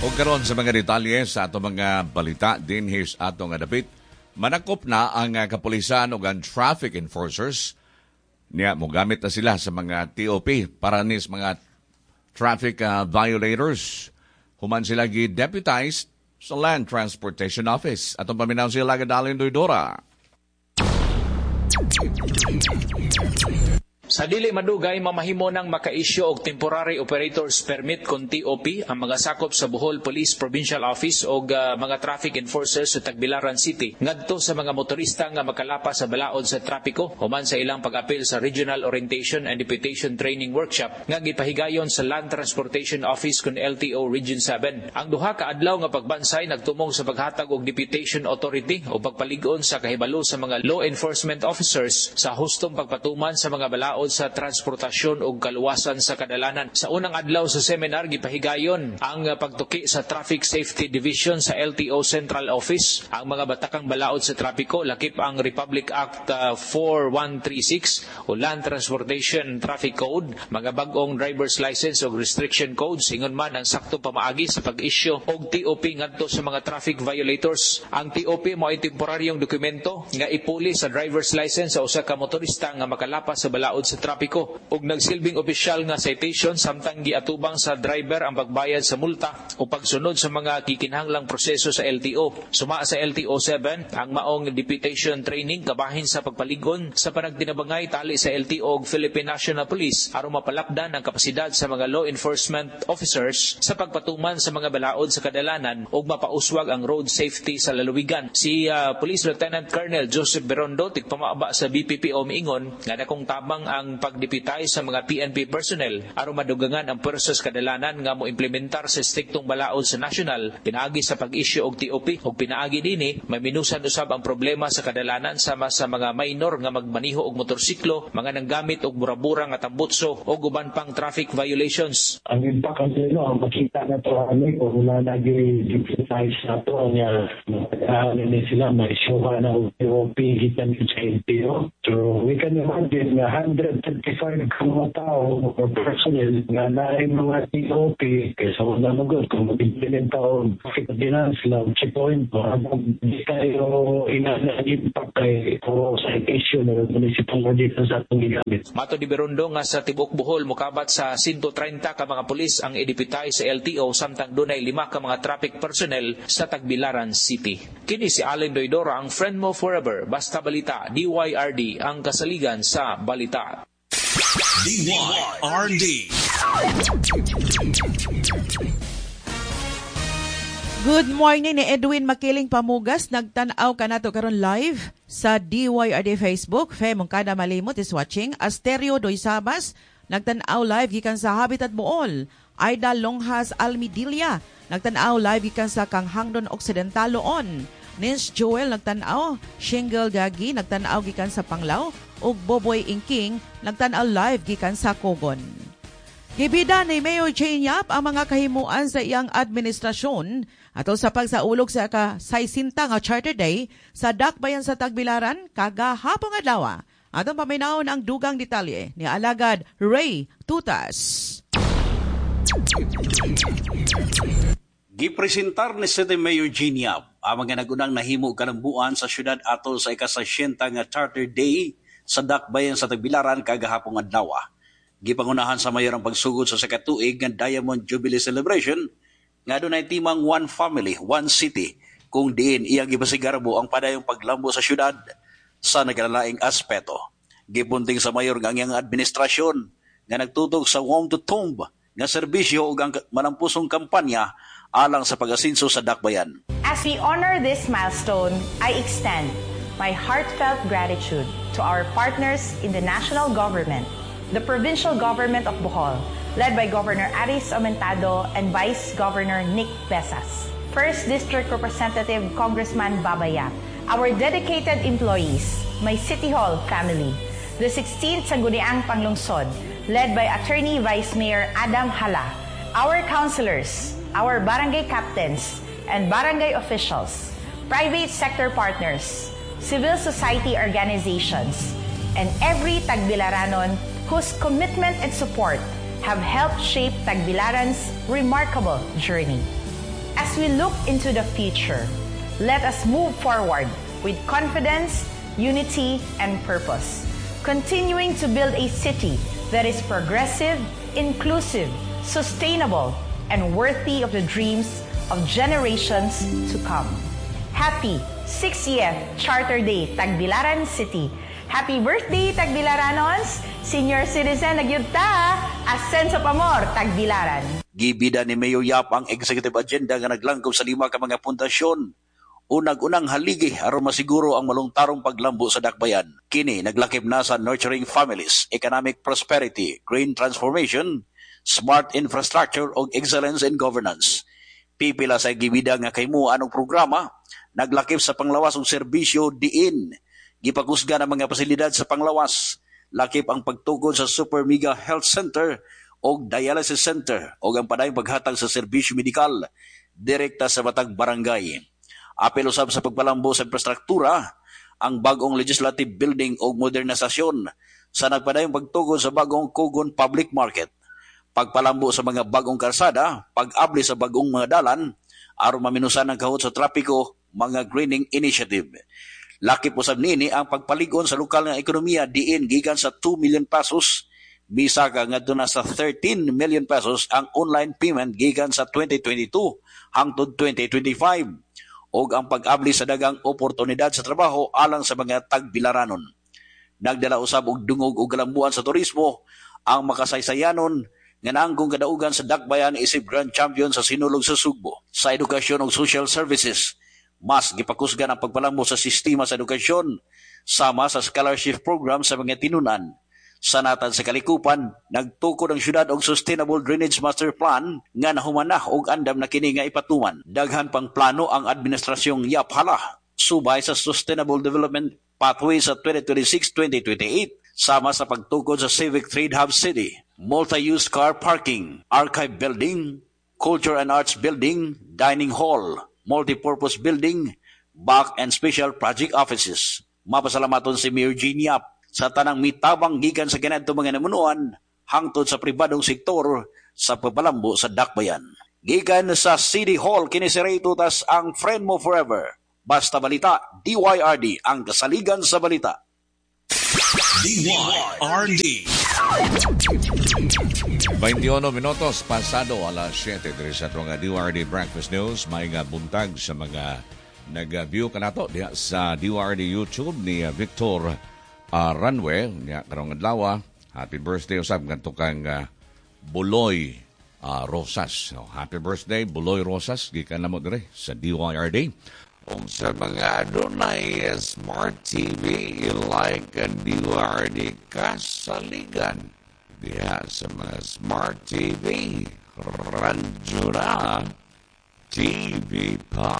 O karon sa mga detalye sa atong mga balita dinhi sa atong dapit, manakop na ang kapulisan ug ang traffic enforcers niya, mogamit na sila sa mga TOP para nis mga traffic violators human sila gi-deputized sa Land Transportation Office. Atong paminaw sila Alagad Doydora. Sa dili madugay, mamahimo nang maka-issue og temporary operators permit kon TOP ang mga sakop sa Bohol Police Provincial Office og mga traffic enforcers sa Tagbilaran City ngadto sa mga motorista nga makalapas sa balaod sa trapiko human sa ilang pag-apil sa Regional Orientation and Deputation Training Workshop nga gipahigayon sa Land Transportation Office kon LTO Region 7. Ang duha ka adlaw nga pagbansay nagtumong sa paghatag og deputation authority o pagpalig-on sa kahibalo sa mga law enforcement officers sa hustong pagpatuman sa mga balaod sa transportasyon ug kaluwasan sa kadalanan. Sa unang adlaw sa seminar, gipahigayon ang pagtuki sa Traffic Safety Division sa LTO Central Office ang mga batakang balaod sa trapiko, lakip ang Republic Act 4136 o Land Transportation Traffic Code, mga bag-ong driver's license ug restriction codes, ingon man ang sakto pamaagi sa pag-issue og TOP ngadto sa mga traffic violators. Ang TOP mao ay temporaryong dokumento nga ipuli sa driver's license sa usa ka motorista nga makalapas sa balaod sa trapiko ug nagsilbing opisyal nga citation samtang giatubang sa driver ang pagbayad sa multa o pagsunod sa mga kikinahanglang proseso sa LTO. Suma sa LTO 7 ang maong deputation training kabahin sa pagpaligon sa panagtinabangay tali sa LTO ug Philippine National Police aron mapalapdan ang kapasidad sa mga law enforcement officers sa pagpatuman sa mga balaod sa kadalanan ug mapauswag ang road safety sa lalawigan. Si Police Lieutenant Colonel Joseph Berondo, tigpamaba sa BPPO, miingon nga dakong tabang ang pagdeputay sa mga PNP personnel aron madugangan ang pwersa sa kadalanan nga moimplementar sa estriktong balaod sa national pinaagi sa pag-issue og TOP, ug pinaagi dinhi may minusan usab ang problema sa kadalanan sama sa mga minor nga magmaniho og motorsiklo, mga nanggamit og burabura nga tambutso og uban pang traffic violations. Ang impact ang no, makita na to ani kung wala nag-deputize na to niya, ni sila may issue na og TOP gikan sa LTO. So we can imagine nga 135 ka mga tao or personnel nga naay mga TOP kaysa wala magod kung mag-implement og traffic ordinance lang checkpoint di kayo ina-impact kay puro citation o municipal ordinance sa atong gigamit. Mato di Berondo nga sa tibuok Bohol mokabat sa 130 ka mga pulis ang ideputay sa LTO samtang dunay 5 ka mga traffic personnel sa Tagbilaran City. Kini si Allen Doydora, ang friend mo forever. Basta Balita, DYRD, ang kasaligan sa balita. DYRD. Good morning ni Edwin Makiling Pamugas. Nagtan-aw ka nato karon live sa DYRD Facebook. Fe Mongkada Malimot is watching. Asterio Doysabas nagtan-aw live gikan sa Habitat Bool. Aida Longhas Almidilia nagtan-aw live gikan sa Kanghangdon Occidental Loon. Nins Joel nagtan-aw, Shingle Gagi nagtan-aw gikan sa Panglao ug Boboy Ingking nagtan-aw live gikan sa Kogon. Gibida ni Mayor Jane Yap ang mga kahimuan sa iyang administrasyon atol sa pagsaulog sa ka-60 nga Charter Day sa Dakbayan sa Tagbilaran kagahapon adlaw. Atong paminawon ang dugang detalye ni Alagad Ray Tutas. Gipresentar ni City Mayor Jane Yap ang mga nagunang nahimo kalambuan sa syudad atol sa ika-60 nga Charter Day sa Dakbayan sa Tagbilaran kagahapong adlaw. Gipangunahan sa mayor ang pagsugod sa sakatuig nga Diamond Jubilee Celebration nga dunay timang One Family, One City kung diin iyang gipasigarbo ang padayong paglambo sa syudad sa nagkalalaing aspeto. Gipunting sa mayor nga ang iyang administrasyon nga nagtutok sa Womb to Tomb nga serbisyo ug ang malampusong kampanya alang sa pag-asinso sa Dakbayan. As we honor this milestone, I extend my heartfelt gratitude to our partners in the national government, the provincial government of Bohol, led by Governor Aris Aumentado and Vice Governor Nick Besas, First District Representative Congressman Baba Yap, our dedicated employees, my City Hall family, the 16th Sangguniang Panglungsod, led by Attorney Vice Mayor Adam Hala, our councilors, our barangay captains, and barangay officials, private sector partners, civil society organizations, and every Tagbilaranon whose commitment and support have helped shape Tagbilaran's remarkable journey. As we look into the future, let us move forward with confidence, unity, and purpose, continuing to build a city that is progressive, inclusive, sustainable, and worthy of the dreams of generations to come. Happy 60th Charter Day, Tagbilaran City. Happy birthday, Tagbilaranons! Senior citizen na gyud ta! Ascenso pamor, Tagbilaran! Gibida ni Mayor Yap ang executive agenda nga naglangkob sa lima ka mga pundasyon. Unag-unang haligi aron masiguro ang malungtarong paglambo sa dakbayan. Kini naglakip na sa nurturing families, economic prosperity, green transformation, smart infrastructure ug excellence in governance. Pipila sa gibida nga kahimuan og programa naglakip sa panglawas og serbisyo diin gipakusgan ang mga pasilidad sa panglawas, lakip ang pagtukod sa Super Mega Health Center og Dialysis Center ug ang padayong paghatag sa serbisyo medikal direkta sa matag barangay. Apil usab sa pagpalambo sa infrastruktura, ang bagong legislative building ug modernisasyon sa nagpadayong pagtukod sa bagong Cogon Public Market, pagpalambo sa mga bagong karsada, pag-abli sa bagong mga dalan, aron maminusan ang kahot sa trapiko, mga greening initiative. Lakip usab niini ang pagpalig-on sa lokal nga ekonomiya diin gikan sa 2 million pesos misaka ngadto na sa 13 million pesos ang online payment gikan sa 2022 hangtod 2025 ug ang pag-abli sa daghang oportunidad sa trabaho alang sa mga tagbilaranon. Nagdala usab og dungog og galambuan sa turismo ang makasaysayanon nga naangkong kadaugan sa dakbayan isip Grand Champion sa Sinulog sa Sugbo. Sa edukasyon ug social services, mas gipakusgan ang pagpalambo sa sistema sa edukasyon sama sa scholarship program sa mga tinunan. Sa natad sa kalikupan, nagtukod ang syudad og Sustainable Drainage Master Plan nga nahumana og andam na kini nga ipatuman. Daghan pang plano ang administrasyong Yap hala subay sa Sustainable Development Pathway sa 2026-2028 sama sa pagtukod sa Civic Trade Hub City, multi-use car parking, archive building, culture and arts building, dining hall, multi-purpose building, back and special project offices. Mapasalamaton si Mayor Jean Yap sa tanang mitabang gikan sa ganadto mga namunuan hangtod sa pribadong sektor sa pagpalambo sa dakbayan. Gikan sa City Hall, kini si Ray Tutas, ang friend mo forever. Basta balita, DYRD, ang kasaligan sa balita. DYRD. 21 minutos pasado alas 7 diri sa atong DYRD Breakfast News. May nga buntag sa mga nag-view kanato diha sa DYRD YouTube ni Victor Ranwe niya karong adlaw. Happy birthday usab ngadto kang Buloy Rosas. So, happy birthday Buloy Rosas, gikan namo diri sa DYRD. Kung sa mga adunay smart TV, i-like ang DYRD Kasaligan diha sa mga smart TV. Radyo na TV pa.